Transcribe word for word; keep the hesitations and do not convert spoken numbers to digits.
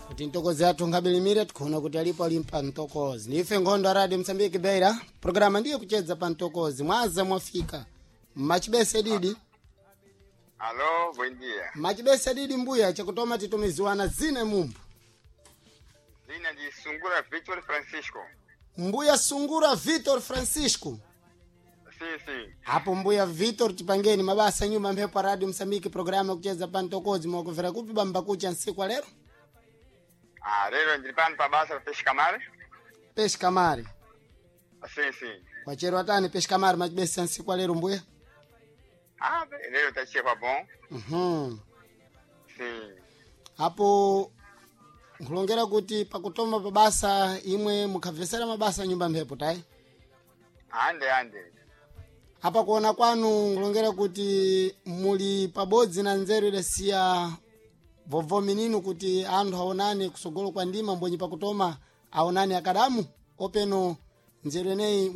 Kuti ntokozi athu nkabilimire, tikuona kuti alipo alimpa ntokozi. Ndife nkhondo a Radio Msambiki Beira, programa ndiye kuchedza pa ntokozi. Mwaza mwafika machibese didi? Alô, bom dia. Machibese didi mbuya, chakutoma titumiziwana zine mumbu. Zina de Sungura Victor Francisco. Mbuya Sungura Vitor Francisco. Sim, sim. Apo mbuya Vitor, tipangeni mabasa nyuma mphepo a Radio Msambiki, programa kucheza pa ntokozi. Mwakuvera kupi bamba kucha nsiku lero? Ah, lero ndili pano pa basa pa Peixe Camar. Peixe Kamari. Sim, sim. Kwachero atani Peixe Kamari machibesa nsiku lero mbuya? Ah, bem, lero tá cheio bom. Mhm. Sim. Apo nkulongera kuti pakutoma pabasa imwe mukhabvesera mabasa nyumba mphepo tayi? Ande, ande. Apa kuona kwanu nkulongera kuti muli pabodzi na nzeru idasiya vovomi ninu kuti anthu aonane kusogolo kwa ndima mbonyi pakutoma aonane akadamu openo nzeru eneyi.